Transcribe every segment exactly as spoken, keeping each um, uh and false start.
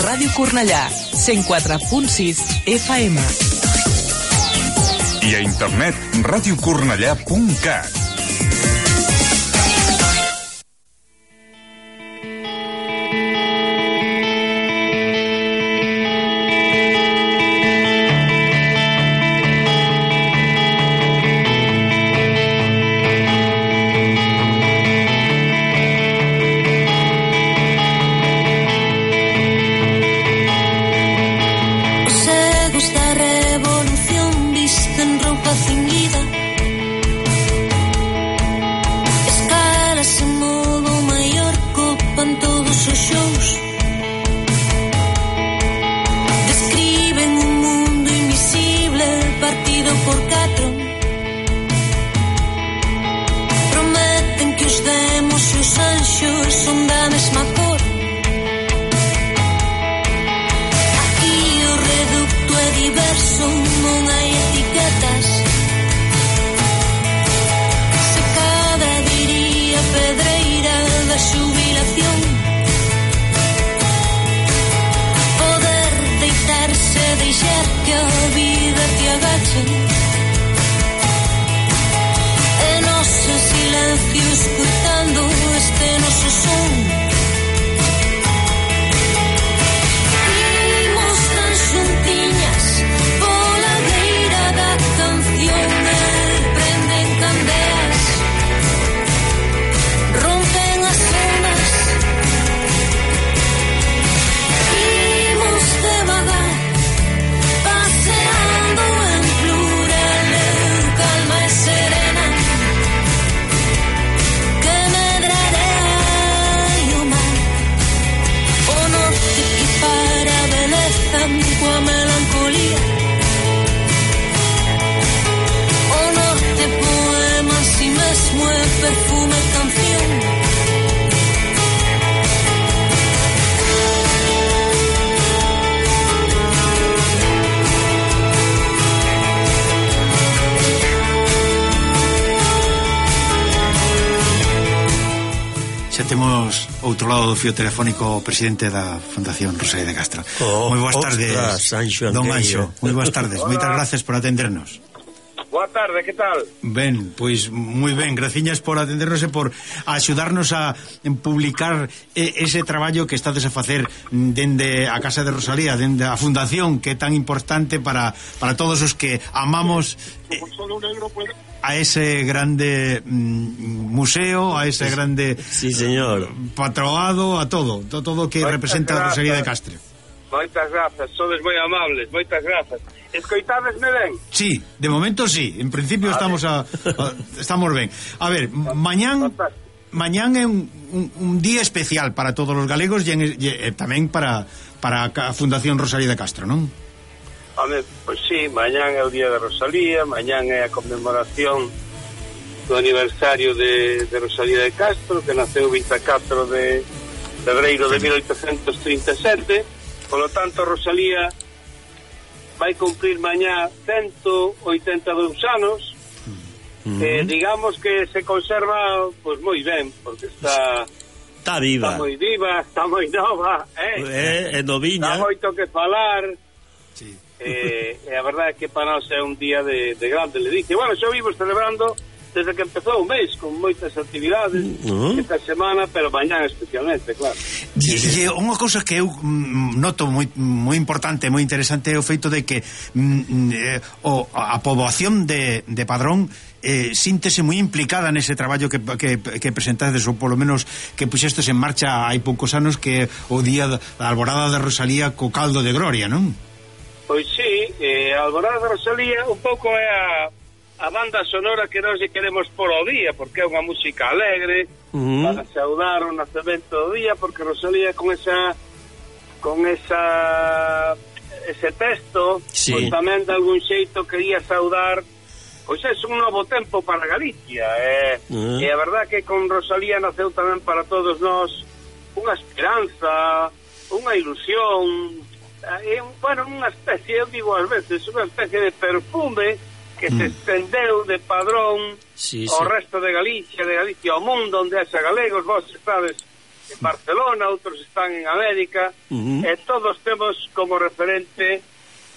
Ràdio Cornellà, cent quatre punt sis F M. I a internet, ràdio cornellà punt cat. Outro lado do fío telefónico o presidente da Fundación Rosalía de Castro. Oh, moi boas tardes, Anxo don Anxo. Moi boas tardes, moitas gracias por atendernos. Boa tarde, que tal? Ben, pois moi ben, graciñas por atendernos e por axudarnos a publicar ese traballo que estades a facer dende a Casa de Rosalía, dende a Fundación, que é tan importante para, para todos os que amamos eh, a ese grande mm, museo, a ese grande sí, señor. patroado, a todo, todo, todo que moitas representa a Rosalía de Castro. Moitas grazas, sodes moi amables, moitas grazas. Escoitadesme ben? Sí, de momento sí, en principio a estamos a, a estamos ben. A ver, mañán mañán é un, un, un día especial para todos os galegos e, en, e tamén para para a Fundación Rosalía de Castro, non? Home, pois sí, mañán é o día de Rosalía, mañán é a conmemoración do aniversario de, de Rosalía de Castro, que naceu o vinte e catro de febreiro de mil oitocentos trinta e sete. Polo tanto, Rosalía vai cumprir mañá ciento oitenta e dous anos, uh-huh. que digamos que se conserva pues moi ben, porque está está viva, está moi viva, está moi nova, eh? É, é noviña, está moito que falar. Sí. Eh, e a verdade é que para nós é un día de, de grande ledicia. Bueno, xa vivo celebrando desde que empezou o mês, con moitas actividades uh-huh. esta semana, pero mañán especialmente, claro. E, e unha cousa que eu mm, noto moi, moi importante, moi interesante é o feito de que mm, eh, o, a poboación de, de Padrón eh, síntese moi implicada nese traballo que, que, que presentades, ou polo menos que puxestes en marcha hai poucos anos, que o día da Alborada de Rosalía co caldo de gloria, non? Pois sí, eh, a Alborada de Rosalía un pouco é a a banda sonora que nós queremos por o día, porque é unha música alegre, uh-huh. para saudar o nacemento do día, porque Rosalía con esa con esa ese texto, sí. Pois tamén de algún xeito quería saudar, pois é un novo tempo para Galicia, eh? uh-huh. E a verdad que con Rosalía naceu tamén para todos nós unha esperanza, unha ilusión, é, bueno, unha especie, eu digo ás veces, unha especie de perfume que se estendeu de Padrón sí, ao sí. resto de Galicia, de Galicia, ao mundo onde haxa galegos, vos estades en Barcelona, outros están en América, Uh-huh. e todos temos como referente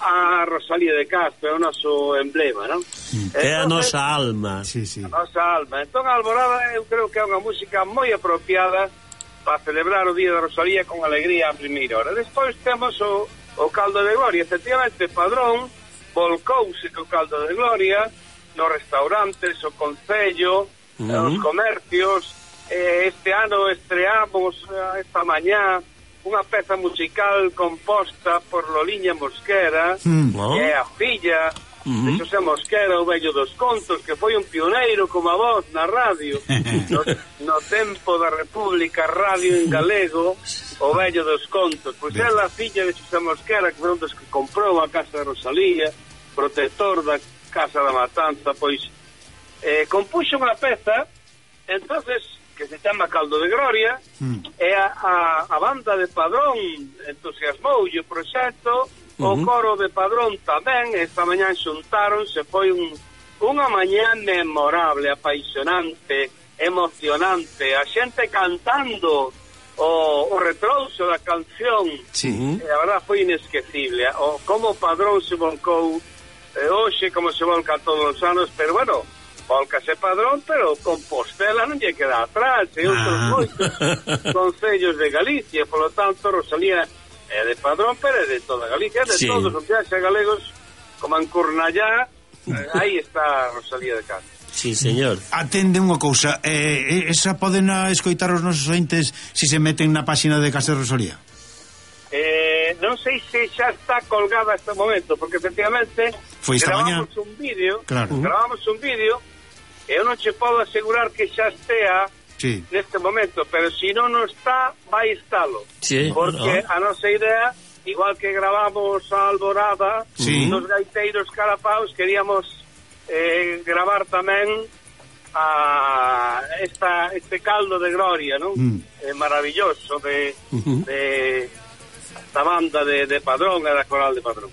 a Rosalía de Castro, é o noso emblema, non? É a nosa alma. Sí, sí. A nosa alma. Entón, a Alborada eu creo que é unha música moi apropiada para celebrar o Día da Rosalía con alegría a primeira hora. Despois temos o, o caldo de gloria. Efectivamente, Padrón volcouse co caldo de gloria nos restaurantes, o concello, Uh-huh. os comercios. Eh, este ano estreamos eh, esta mañá unha peza musical composta por Loliña Mosquera, Mm. Oh. que é a filla Uh-huh. de Xosé Mosquera, o vello dos contos, que foi un pioneiro como a voz na radio no, no tempo da República, radio en galego, o vello dos contos. Pois é a filla de Xosé Mosquera, que foi un dos que comprou a casa de Rosalía, protector da Casa da Matanza, pois eh, compuxo unha peza, entonces que se chama Caldo de Gloria, mm. e a, a, a banda de Padrón entusiasmoulle o proxecto, uh-huh. o coro de Padrón tamén, esta mañá xuntáronse, foi un, unha mañá memorable, apaixonante, emocionante, a xente cantando o, o retrouso da canción, Sí. e a verdad foi inesquecible, o como Padrón se volcou eh, hoxe, como se volca todos os anos, pero bueno, volcase Padrón, pero Compostela non lle queda atrás, e outros Ah. moitos concellos de Galicia, polo tanto, Rosalía é de Padrón, pero é de toda Galicia, é de Sí. todos os viaxes galegos, como en Cornellá, eh, aí está Rosalía de Castro. Sí, señor. Atende unha cousa, eh, esa poden a escoitar os nosos ointes se se meten na páxina de Casa de Rosalía? Eh, non sei se xa está colgada este momento, porque efectivamente Foi esta gravamos mañá. un vídeo, Claro. gravamos un vídeo, e eu non che podo asegurar que xa estea Sí. neste momento, pero se non non está, vai estalo. Sí, Porque ah. a nosa idea, igual que gravamos a Alborada, Sí. dos gaiteiros carapaos, queríamos eh, gravar tamén a esta este caldo de gloria, non? Mm. Eh, maravilloso de, Uh-huh. de da banda de, de Padrón e da coral de Padrón.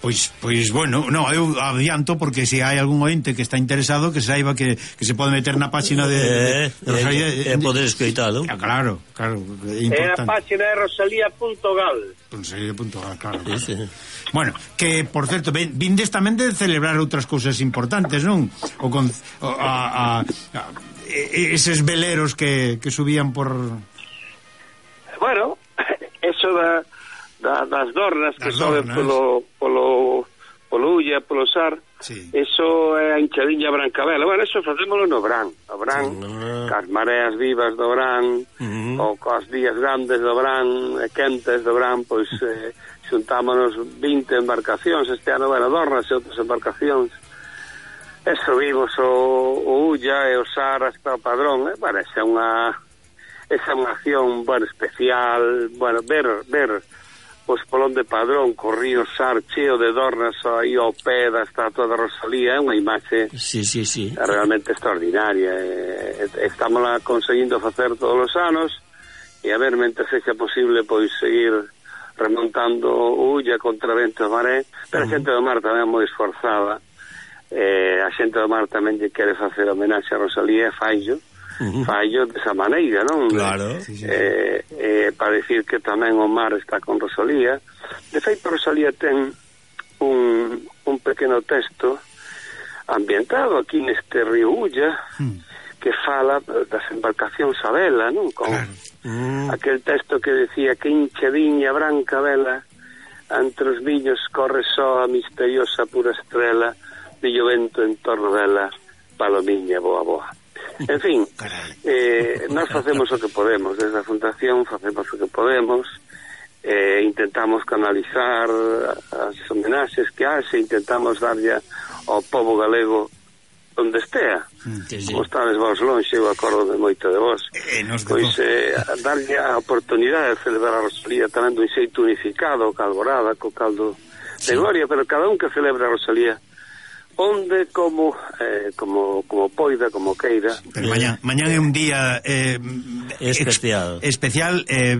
Pois, pois bueno, no, eu adianto porque se hai algún ointe que está interesado que saiba que, que se pode meter na páxina de, Eh, de, de Rosalía. eh, eh, poder escoitalo. Ah, claro, claro, é É a importante. página de rosalía punto gal. Rosalía punto gal, claro. Sí, sí. Bueno, que por certo, ven, vindes tamén de celebrar outras cousas importantes, non? O con o, a, a, a eses veleros que, que subían por Bueno, eso da, da das dornas que Das soben dornas. polo polo polo Ulla, polo Sar. Sí. Eso é a hinchadiña Brancabela. Bueno, eso facémolo no Brán. O Brán, Ah. cas mareas vivas do Brán, Uh-huh. ou cos días grandes do Brán, e quentes do Brán, pois eh, xuntámonos vinte embarcacións este ano, bueno, dornas e outras embarcacións. E subimos o, o Ulla e o Sar hasta o Padrón. E, bueno, esa é unha esa é unha acción, bueno, especial, bueno, ver ver o espolón de Padrón, co río Sar cheo de dornas aí ao pé da estatua de Rosalía, é unha imaxe Sí, sí, sí. realmente extraordinaria. E, e, estamos lá conseguindo facer todos os anos, e a ver, mentre sexa posible, pois seguir remontando o Ulla contra vento e maré, pero a xente do mar tamén é moi esforzada. Eh, a xente do mar tamén lle quere facer homenaxe a Rosalía e faillo, Uh-huh. faillo desa maneira, non? Claro. Sí, sí, sí. Eh, eh, para decir que tamén o mar está con Rosalía. De feito, Rosalía ten un, un pequeno texto ambientado aquí neste río Ulla, Mm. que fala das embarcacións a vela, non? Con Claro. Mm. aquel texto que decía que hinchadiña branca vela entre os viños corre só a misteriosa pura estrela de vento en torno dela, palomiña boa boa. En fin, Carai. eh, nós facemos o que podemos, desde a Fundación facemos o que podemos, eh, intentamos canalizar as homenaxes que haxe, intentamos darlle ao povo galego onde estea. Sí, sí. Como estades vos lonxe, eu acordo de moito de vos. Eh, nos de Pois vos. eh, darlle a oportunidade de celebrar a Rosalía tamén dun xeito unificado, co Alborada, co caldo de gloria, pero cada un que celebra a Rosalía onde, como eh, como como poida, como queira. Pero mañán, mañán é un día eh, especial, ex, especial eh,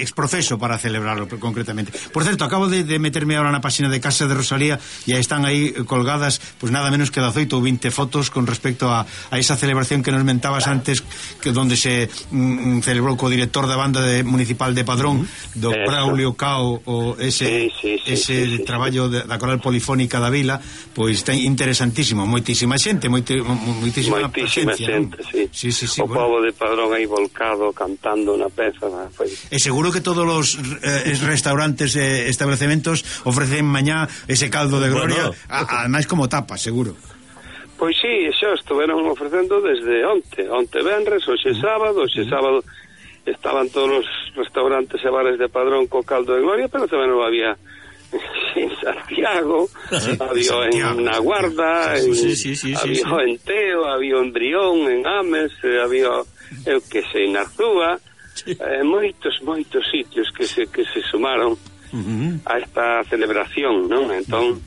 exprofeso para celebrarlo concretamente. Por certo, acabo de, de meterme ahora na página de Casa de Rosalía e están aí colgadas pues nada menos que dezoito ou vinte fotos con respecto a, a esa celebración que nos mentabas antes, que donde se mm, celebrou co director da banda de, municipal de Padrón, do Eso. Braulio Cao, o ese, sí, sí, sí, ese sí, sí, traballo de, da coral polifónica da vila, pois ten interesantísimo, moitísima xente, moiti, moitísima, moitísima xente, sí. Sí, sí, sí, o bueno. pobo de Padrón aí volcado cantando na peza, foi. E seguro que todos os eh, restaurantes e eh, establecementos ofrecen mañá ese caldo de gloria, bueno. Ademais como tapa, seguro. Pois sí, xa estuveron ofrecendo desde onte, onte venres, hoxe sábado, hoxe sábado estaban todos os restaurantes e bares de Padrón co caldo de gloria, pero tamén non había en Santiago, sí, había Santiago, en Na Guarda, sí, en, sí, sí, sí, había sí, en Teo, había en Brión, en Ames, había, eu que sei, en Arzúa, sí. eh, moitos, moitos sitios que se, que se sumaron uh-huh. a esta celebración, non? Entón,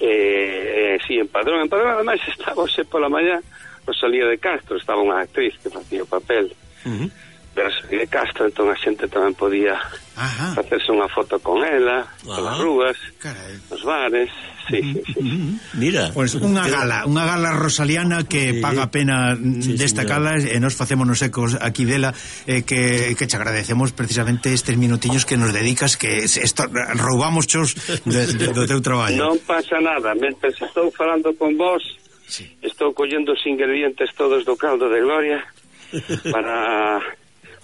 eh, eh, sí, en Padrón, en Padrón, ademais, estaba hoxe pola mañá Rosalía de Castro, estaba unha actriz que facía o papel, uh-huh. de Castro, entón a xente tamén podía Ajá. facerse unha foto con ela, nas rúas, carai. Nos bares, sí, sí, sí. Mira, pois pues unha gala, unha gala rosaliana que sí. paga a pena sí, destacala e nos facémonos ecos aquí dela, eh, que, que te agradecemos precisamente estes minutiños que nos dedicas, que esto, roubamos chos de, de, do teu traballo. Non pasa nada, mentre estou falando con vos, sí. estou collendo os ingredientes todos do caldo de gloria para...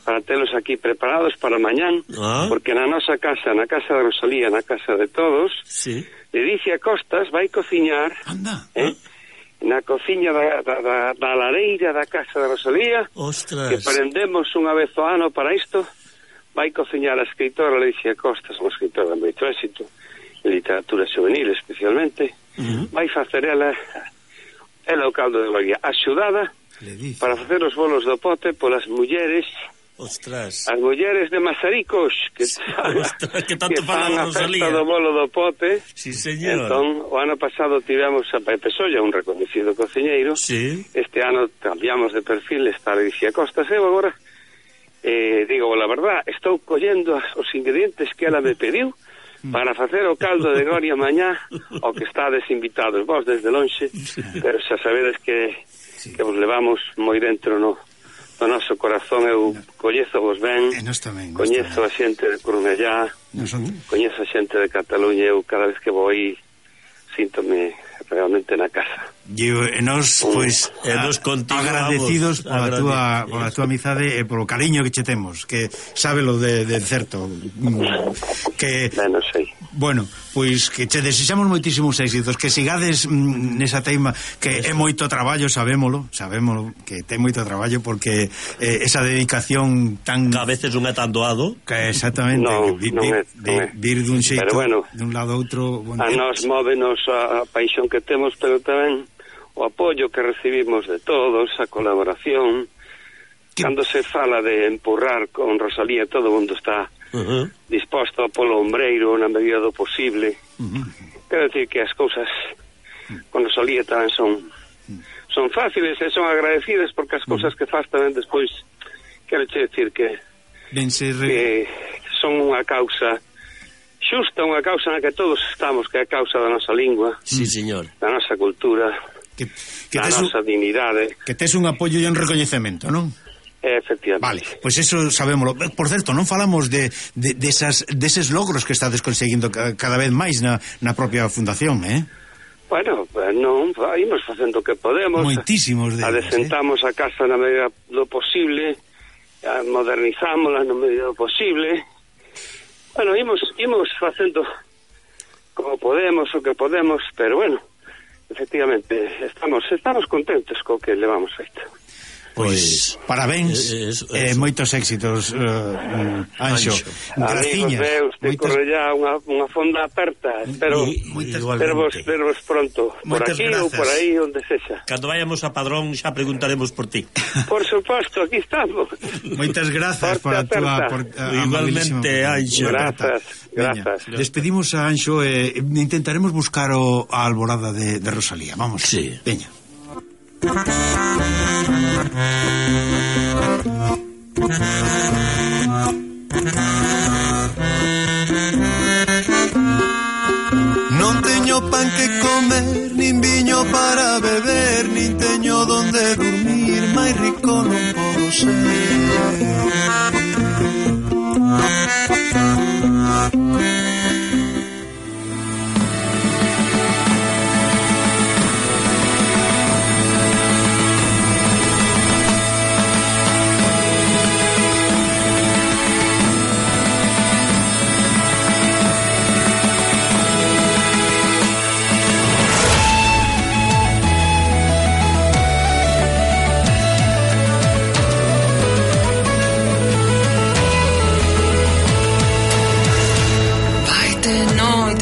para telos aquí preparados para mañán, ah. porque na nosa casa, na casa de Rosalía, na casa de todos, sí. Ledicia Costas vai cociñar eh, na cociña da, da, da, da lareira da casa de Rosalía, ostras. Que prendemos unha vez ao ano para isto, vai cociñar a escritora Ledicia Costas, unha escritora de moito éxito, en literatura juvenil especialmente, uh-huh. vai facer ela, ela o caldo de gloria, axudada para facer os bolos do pote polas mulleres. Ostras. As mulleres de Mazaricos que, Ostras, que tanto que fan a festa do bolo do pote. Sí, señor. Entón, o ano pasado tivemos a Pepe Solla, un reconhecido cociñeiro. Sí. Este ano cambiamos de perfil, está Ledicia Costas. Eu agora, eh, digo, la verdad, estou collendo os ingredientes que ela me pediu para facer o caldo de gloria mañá, o que estades invitados vos desde lonxe, pero xa sabedes que, que vos levamos moi dentro no... o noso corazón. Eu coñezo vos ben, tamén, coñezo a xente de Cornellá, son... coñezo a xente de Cataluña. Eu cada vez que vou aí síntome realmente na casa. E nos, pois, e nos agradecidos pola túa, pola túa amizade e polo cariño que che temos, que sábelo de, de certo. Que, bueno, sei. Bueno, pois que che desexamos moitísimos éxitos, que sigades mm, nesa teima, que Eso. É moito traballo, sabémolo, sabémolo, que ten moito traballo, porque eh, esa dedicación tan... Que a veces non é tan doado. Que exactamente, no, que vi, non é, vi, non é. vir dun xeito, bueno, dun lado a outro... Bueno, a nos móvenos a, a paixón que temos, pero tamén o apoio que recibimos de todos, a colaboración. Que... Cando se fala de empurrar con Rosalía, todo o mundo está uh-huh. disposto polo ombreiro na medida do posible. Uh-huh. Quero decir que as cousas con Rosalía tamén son son fáciles e son agradecidas, porque as cousas uh-huh. que faz tamén despois, quero che decir que, re... que son unha causa xusta, unha causa na que todos estamos, que é a causa da nosa lingua, sí, señor, da nosa cultura, que, que da nosa un, dignidade. Que tes un apoio e un recoñecemento, non? Efectivamente. Vale, pois pues eso sabémoslo. Por certo, non falamos de, de, de esas, deses logros que estades conseguindo cada vez máis na, na propia fundación, eh? Bueno, non, imos facendo o que podemos. Moitísimos deles, adesentamos eh? a casa na medida do posible, modernizámola na medida do posible. Bueno, imos, imos facendo como podemos, o que podemos, pero bueno, efectivamente, estamos estamos contentos co que levamos feito. Pois, parabéns e eh, eh, moitos éxitos, uh, Anxo. Amigos meus, te moitas... corre ya unha, unha fonda aperta. Espero vervos, vervos pronto, por moitas aquí grazas. Ou por aí, onde sexa. Cando vayamos a Padrón xa preguntaremos por ti. Por suposto, aquí estamos. Moitas grazas por a túa... Por, uh, igualmente, Anxo. Grazas. Grazas. Veña, despedimos a Anxo e eh, intentaremos buscar o, a alborada de, de Rosalía. Vamos. Sí. Veña. Non teño pan que comer, nin viño para beber, nin teño donde dormir, máis rico non podo ser.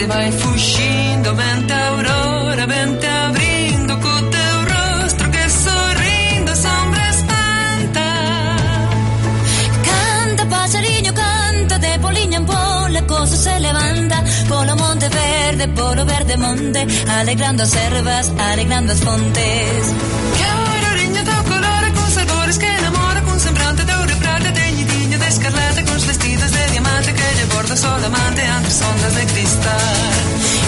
Vai fuxindo, vente a aurora, vente abrindo co teu rostro que sorrindo sombra espanta. Canta, pasariño, canta, de poliña en pol, a cosa se levanta, polo monte verde, polo verde monte, alegrando as ervas, alegrando as fontes. Que auroriño teu color, con sabores que enamora, con semblante de ouro e prata, teñidinho de escarlata, con vestidos de diamante que lle borda sol amante ante ondas de cristal.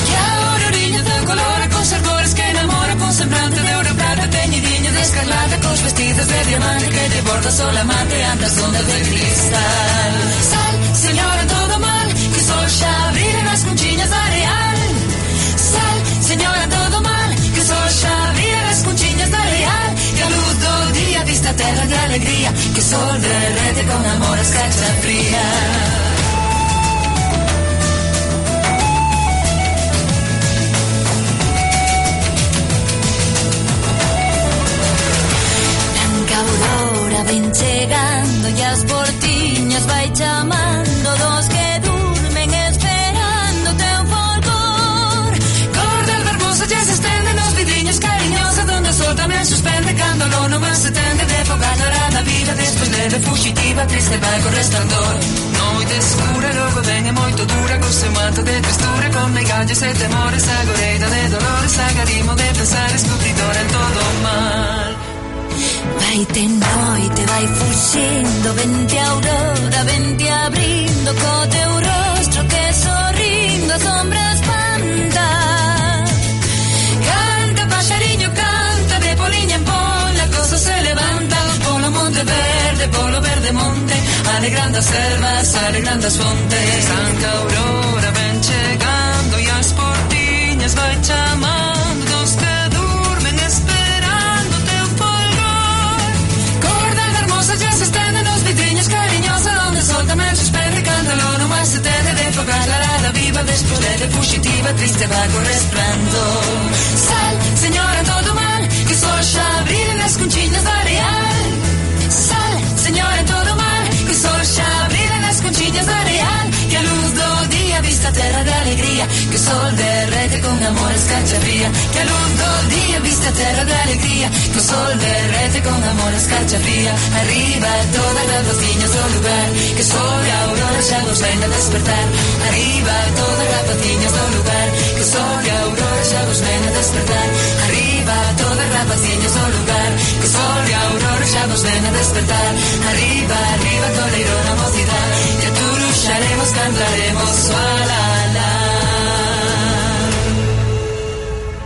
Que auroriño teu color, con sabores que enamora, con semblante de ouro e prata, teñidinho de escarlata, con vestidos de diamante que lle borda sol amante ante as ondas de cristal. Sal, señora, todo mal, que o sol xa brilha nas conchiñas da areal. Sal, señora, todo mal, que o sol xa brilha nas conchiñas da areal. Que a luz do día vista a terra de alegría, que o sol derrete con amor a escarcha fría. Aurora ven chegando e as portiñas vai chamando dos que durmen esperando teu folgor. Cor del verboso ya se estende nos vidriños cariñosa donde o sol tamén suspende cando o lono máis se tende de fogar dorada vida despois leve fugitiva triste vai co resplandor. Noite escura logo ven e moito dura co seu manto de tristura con megallas e temores agoreira de dolores agarimo de pensar escupridora en todo o mal. Vai te noite, vai fuxindo, vente a aurora, vente abrindo co teu rostro que sorrindo a sombra espanta. Canta, paxariño, canta, de poliña en pol, a cosa se levanta, polo monte verde, polo verde monte, alegrando as ervas, alegrando as fontes. Canta, aurora, ven chegando e as portiñas vai chamando dos que durmen esperando teu folgor. Cor del vermosa ya se estende nos vidriños cariñosa donde o sol tamén suspende canta o lono máis se tende de fogar la rada viva despois leve fugitiva triste vai co resplandor. Sal, señora, todo mal, que o sol xa brilha nas conchiñas da areal. Sal, señora, todo mal, que o sol xa brilha nas conchiñas da areal. Que a luz do día vista a terra de alegría, que o sol derrete con amor a escarcha fría. Que a luz do día vista a terra de alegría, que o sol derrete con amor a escarcha fría. Arriba todas as vociñas do lugar, que o sol e a aurora xa nos ven a despertar. Arriba todas as vociñas do lugar, que o sol e a aurora xa nos ven a despertar. Arriba todas as vociñas do lugar, que o sol e a aurora xa nos ven a despertar. Arriba, arriba, toleiro na mocidade, e a tu luxaremos, cantaremos, la la la.